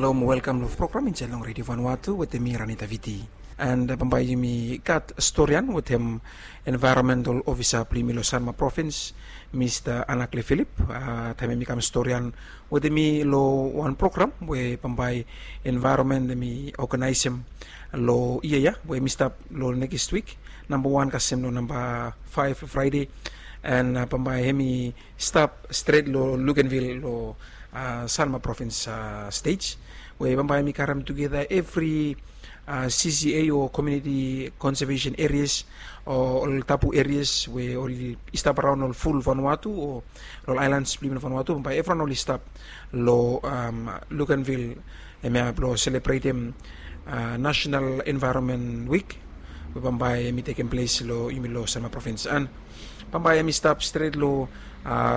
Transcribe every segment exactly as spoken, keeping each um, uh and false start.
Halo mo welkam long program insait long Radio Vanuatu wetem mi, Ranita Viti. And bambae yumi gat storian wetem envaeronmental ofisa blong yumi long Sanma Provins, Mista Anakle Philip. Taem yumi kam storian wetem mi long wan program we bambae envaeronmen hemi oganaesem long yia ya we hemi stap long nekis wik, namba wan kasem long namba faef Fraede. And bambae hemi stap stret long Luganville long Sanma Provins stej, we bambae hemi karem tugeta evri CCA o community conservation areas o ol tabu areas we oli stap araon ol ful Vanuatu o ol aelan blong yumi long Vanuatu. Bambae evriwan oli stap long Luganville hemia blong selebretem National Environment Week we bambae hemi tekem ples long yumi long Sanma Provins. And bambae hemi stap stret long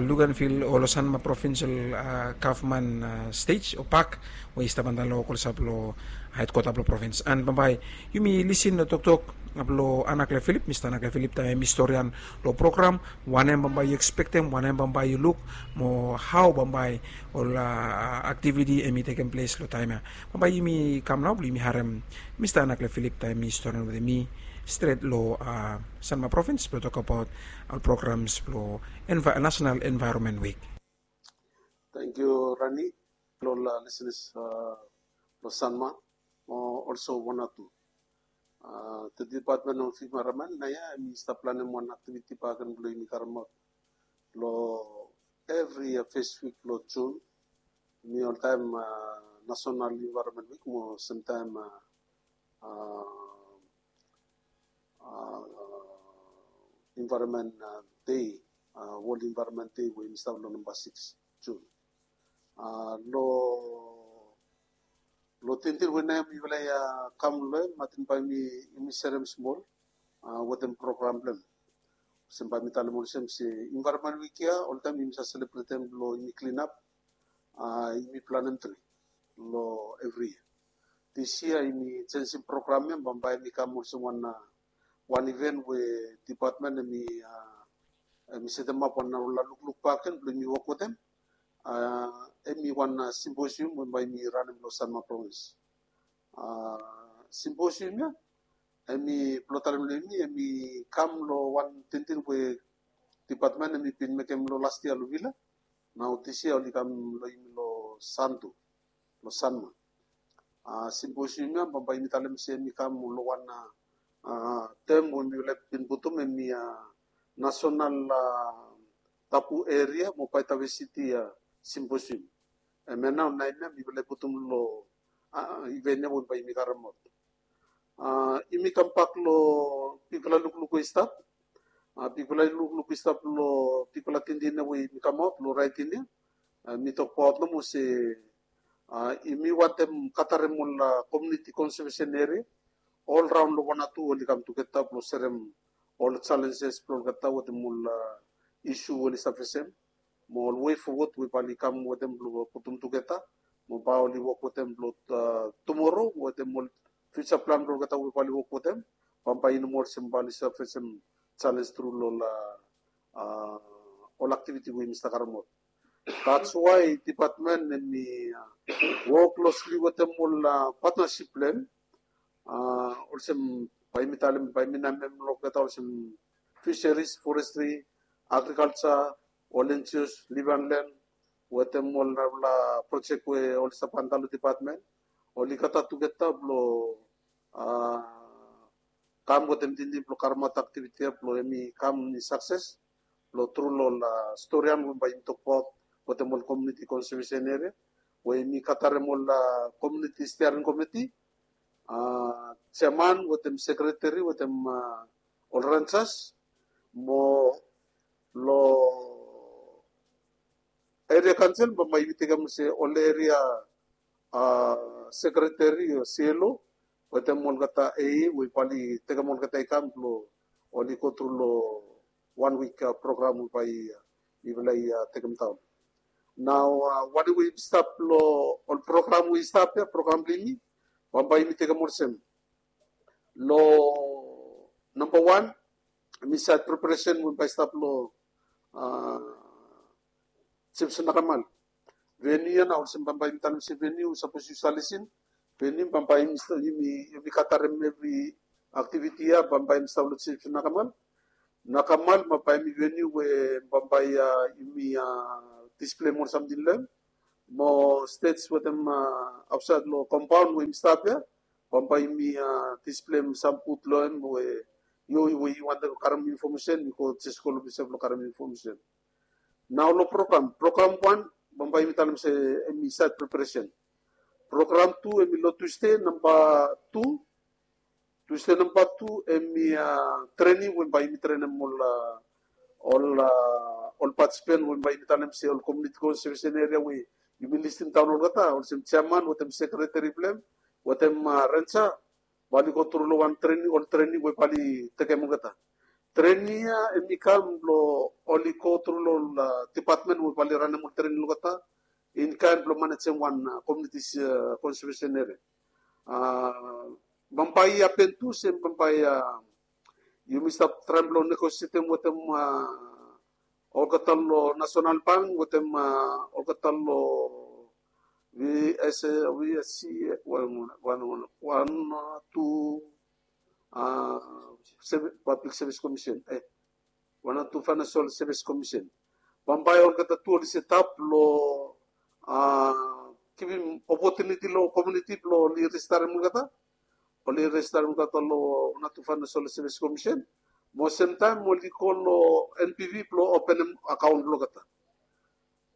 Luganville o long Sanma Provincial Gavman stej o pak we i stap antap long Okolsa blong hedkwata blong provins. And bambae yumi lisin long toktok blong Anakle Philip, Mista Anakle Philip, taem hemi storian long program wanem bambae yu ekspektem, wanem bambae yu luk, mo hao bambae ol aktiviti hemi tekem ples long taem ya. Bambae yumi kam nao blong yumi harem Mista Anakle Philip taem hemi storian wetem mi stret long Sanma Provins blong tokbaot ol programs blong National Environment Week. Tangkiu Rani. Long ol lisenas blong Sanma mo olso Vanuatu, the Department of Environment naoia hemi stap planem wan aktiviti bakegen blong yumi karemaot long evri fes wik blong Jun. Hemi oltaem National Environment Week mo semtaem Environment Day, World Environment Day we hemi stap long namba sikis Jun. Long tingting we naoia mifala i kam long hem, ating bae yumi serem smol wetem program blong hem. Olsem bae mi talem olsem se Environment Week ya oltaem yumi save selebretem blong yumi klinap, yumi planem tri long evri yia. Dis yia yumi jenjem program ya, bambae hemi kam olsem wan wan iven we dipatmen hemi setemap wan narafala lukluk bakegen blong yumi wok wetem. Hemi wan simposium we bae yumi ranem long Sanma Provins. Simposium ya hemi blong talem long yumi, hemi kam long wan tingting we dipatmen hemi bin mekem long las yia long Vila. Nao dis yia oli kam long yumi long Santu, long Sanma. Simposium ya bambae yumi talem se hemi kam long wan tem we mifala bin putum hemi National Tabu Eria mo Biodiversity Symposium. Hemia nao naem ya mifala i putum long iven ya we bae yumi karemaot. Yumi kambak long bigfala lukluk we i stap. Bigfala lukluk i stap long bigfala tingting ya we yumi kamaot long raeting ya. Mi tokbaot nomo se yumi wantem katarem ol komuniti konsevesen eria olraon long Vanuatu oli kam tugeta blong serem ol jalenjes blong olgeta wetem ol isu we oli save fesem mo ol wei fowod we bae oli kam wetem blong putum tugeta mo bae oli wok wetem blong tumoro wetem ol fiuja plan blong olgeta we bae oli wok wetem. Bambae i no moa olsem bae oli save fesem jalenj tru long ol ol aktiviti we yumi stap karemaot. That's why dipatmen hemi wok klosli wetem ol patnasip blong hem. Olsem bae yumi talem, bae yumi namem long olgeta olsem fisheries, forestry, agrikalja, ol land use, liv and land wetem ol narafala projek we oli stap antap long dipatmen. Oli gather tugeta blong kam wetem tingting blong karemaot aktiviti ya blong hemi kam i sakses blong tru long ol storian we bae yumi tokbaot wetem ol komuniti konsevesen eria we yumi katarem ol komuniti stiaring komiti, jeaman wetem sekreteri wetem ol renjas mo long eria kaonsel bambae yumi tekem olsem ol eria sekreteri o C L O wetem olgeta A E we bae oli tekem olgeta i kam blong oli go tru long wan wik program we bae mifala i tekem daon. Nao wanem we yumi stap long ol program we i stap ya, program blong yumi bambae yumi tekem olsem long namba wan, hemi sait preparesen we bae i stap long Jif Nakamal. Venue ia nao olsem bambae yumi talem se venue, sapos yu stap lisin, venue bambae yumi, yumi, yumi gat harem evri aktiviti ia, bambae yumi stap long Chief Nakamal. Nakamal bambae yumi venue we bambae ia yumi, a, displem ol samting long hem. Mo stage wetem, a, aotsaed long kompaon we yumi stap ia, bambae yumi, a, displem sam booth long hem we yu, we yu wantem karem infomesen, yu go jes go long ples ia blong karem infomesen. Nao long program, program wan, bambae yumi talem se hemi site preparation. Program tu hemi long Tuesday namba tu, Tuesday namba tu hemi, a, training we bae yumi trenem ol, a, ol, a, ol participant we bae yumi talem se ol community conservation area we yumi listim daon olgeta, olsem chairman wetem sekreteri blong hem wetem, a, ranger, bae oli go tru long wan trening, ol trening we bae oli tekem olgeta. Trening ia hemi kam blong oli go tru long ol, a, dipatmen we bae oli ranem ol trening long olgeta, in kaen blong manejem wan, a, community, a, conservation area. A, bambae i hapen tu se bambae, a, yumi stap traem blong negosietem wetem, a, olgeta long National Bank wetem, a, olgeta long V S, V S C, wan, wan, wan, wan, a, tu, a, Public Service Commission, e, wan a tu Financial Service Commission. Bambae olgeta tu oli setap long, a, givim opotuniti long komuniti blong oli rejistarem olgeta, oli rejistarem olgeta long wan a tu Financial Service Commission. Mo semtaem oli go long N P V blong openem akaon blong olgeta.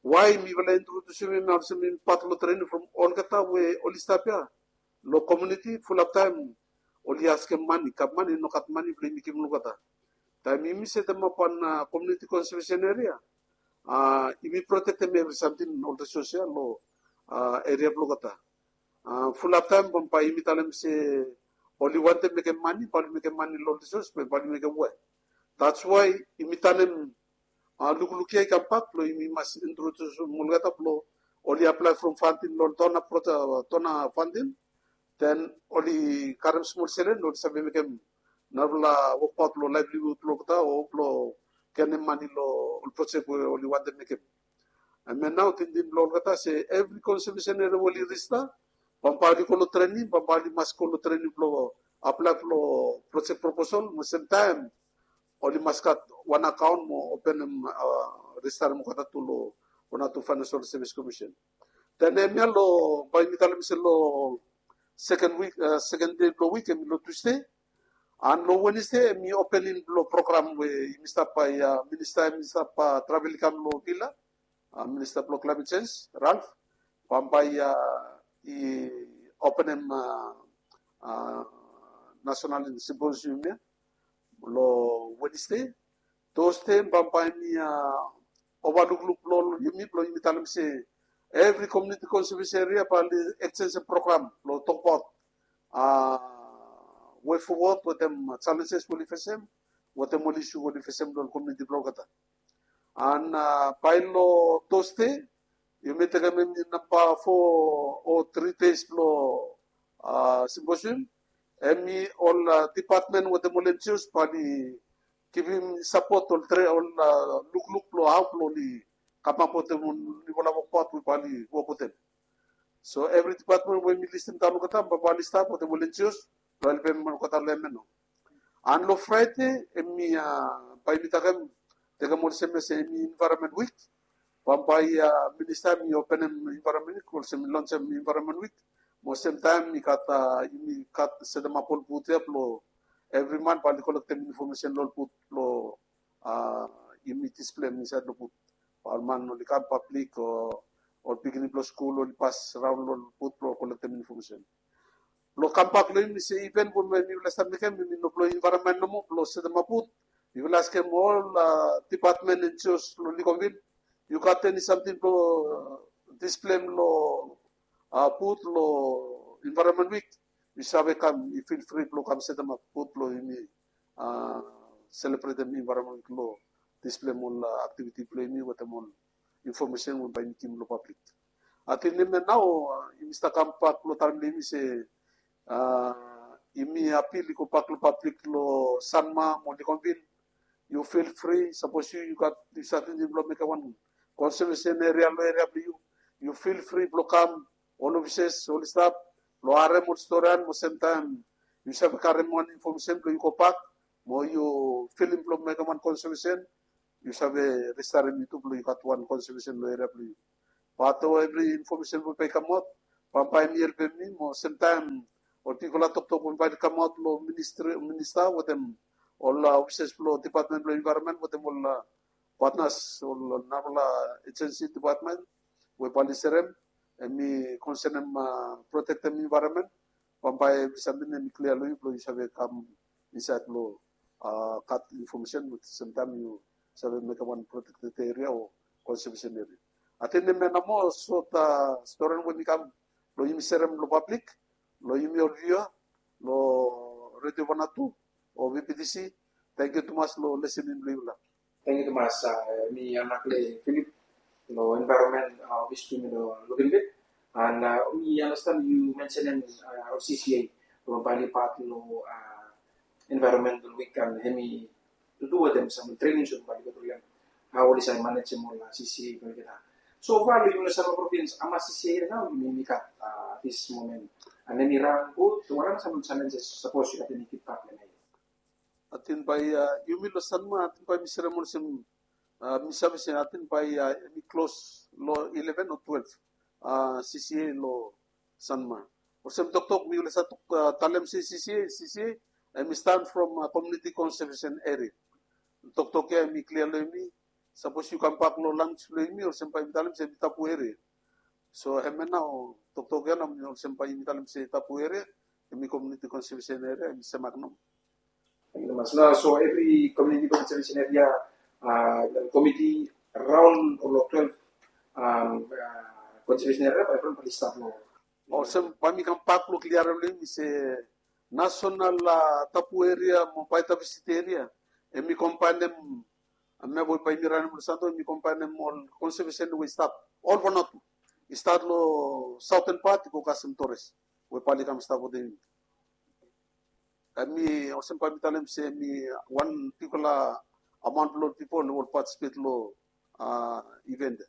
Wae mifala introdusim hem olsem hem pat long trening from olgeta we oli stap ia long komuniti, fulap taem oli askem mane, gavman i no gat mane blong yumi givim long olgeta. Taem yumi setemap wan, a, community conservation area, a, yumi protektem evri samting, ol resource ia long, a, area blong olgeta. A, fulap taem bambae yumi talem se oli wantem mekem mane, bae oli mekem mane long ol resource, be bae oli mekem we. That's why yumi tanem, a, lukluk ia i kambak blong yumi mas introdusim olgeta blong oli aplae from funding long donor proje-, donor funding. Then oli karem smol selen, oli save mekem narafala wokbaot long livelihood blong olgeta o blong genem mane long ol projek we oli wantem mekem. Hemia nao tingting blong olgeta se evri conservation area we oli rejista, bambae oli go long trening, bambae oli mas go long trening blong aplae blong projek proposal, mo semtaem oli mas gat wan akaon mo openem, a, rejistarem olgeta tu long wan a tu Financial Service Commission. Then hemia long, bae mi talem se long second week, a, second day blong wik, hemi long Tuesday. And long Wednesday hemi opening blong program we yumi stap bae, a, minista hemi stap, a, travel i kam long villa, a, minista blong climate change, Ralph. Bambae, a, i openem, a, a, national symposium ia long Wednesday. Thursday bambae hemi, a, ovalukluk blong yumi blong yumi talem se evri community conservation area bae oli ekjenjem program blong tokbaot, a, way forward wetem challenges we oli fesem, wetem ol isu we oli fesem long komuniti blong olgeta. And, a, bae long Thursday yumi tekem hemi namba four o three days blong, a, symposium. Hemi ol, a, department wetem ol N G Os bae oli givim sapot, ol tre-, ol, a, lukluk blong hao blong oli kamap wetem ol niufala wokbaot we bae oli wok wetem. So evri department we mi listim daon olgeta bambae oli stap wetem ol N G Os blong helpem olgeta long hemia nao. And long Friday hemi, a, bae mi talem, tekem olsem ia se hemi Environment Week. Bambae, a, minista hemi openem Environment Week, olsem hemi lonsem Environment Week. Mo semtaem i gat, a, yumi gat setemap ol booth ia blong evri man bae oli kolektem infomesen long ol booth blong, a, yumi displeim insaed long booth. Bae ol man oli kam, pablik o ol pikinini blong skul oli pas raon long ol booth blong kolektem infomesen. Blong kambak long yumi se iven we mifala stap mekem hemi no blong environment nomo, blong setemap booth. Mifala askem ol, a, department, N G Os long Lekomville, yu gat eni samting blong, a, displeim long, a, booth long Environment Week? Yu save kam, yu feel free blong kam setemap booth blong yumi, a, selebretem Environment Week long displeim ol, a, aktiviti blong yumi wetem ol infomesen we bae yumi givim long pablik. Ating hemia nao, a, yumi stap kambak blong talem long yumi se, a, yumi apil i gobak long pablik long Sanma mo Lekomville. Yu feel free, sapos yu, yu gat, yu save tingting blong mekem wan conservation area long eria blong yu, yu fil fri blong kam, ol ofises oli stap blong harem ol storian mo semtaem yu save karem wan infomesen blong yu gobak mo yu filim blong mekem wan konsevesen. Yu save restarem yu tu blong yu gat wan konsevesen long eria blong yu. Bat ol evri infomesen we bae i kamaot bambae hem i helpem mi mo semtaem ol bigfala toktok we bae i kamaot long minista wetem ol ofises blong dipatmen blong envaeronmen wetem ol patnas ol narafala ejensi dipatmen we bae i serem hem i konsenem protektem envaeronmen. Bambae evri samting hem i klia long yu blong yu save kam insaed blong gat infomesen semtaem yu save mekem wan protekted eria o konsevesen eria. Ating hemia nao moa sot storian we mi kam long yumi serem long pablik, long yumi ol viua long redio Vanuatu o VBTC. Tangkiu tumas long lesening blong yufala. Tangkiu tumas. Mi Anakle Philip long envaeronmen ofis blong yumi long Lukenville. And mi anastan yu mensenem ol CCA long bae oli pat long envaeronmental wik and hemi tu wetem sam trening so bae oli go tru long hao oli save manejem ol CCA blong olgeta. So far long yumi long Sanma provins hamas CCA nao yumi gat this moment? And hemi ran gud? Wanem sam ol challenges sapos yu gat eni fidbak long hem? Ating bae yumi long Sanma ating bae mi serem olsem mi save se ating bae hemi klos long eleven o twelve CCA long Sanma. Olsem toktok mi olsem talem se CCA, CCA hemi stan from komuniti konsevesen eria. Toktok ya hemi klia long yumi. Sapos yu kambak long lanwis blong yumi olsem bae yumi talem se hemi tapu eria. So hemia nao toktok ya nao olsem bae yumi talem se tapu eria hemi komuniti konsevesen eria hemi semak nao. Tangkiu tumas. Nao so evri komuniti konsevesen eria komiti raon long twelve konsevesen eria bae evriwan bae oli stap long. Olsem bae mi kambak long kliarem long yumi se nasonal tapu eria mo bae tapu siti eria hemi kombaenem hemia we bae yumi ranem long Santo hemi kombaenem ol konsevesen we i stap ol Vanuatu. I stat long saoten pat i go kasem Torres we bae oli kam stap wetem yumi. Hemi olsem bae mi talem se hemi wan bigfala amaon blong ol pipol we oli patisipet long iven ya.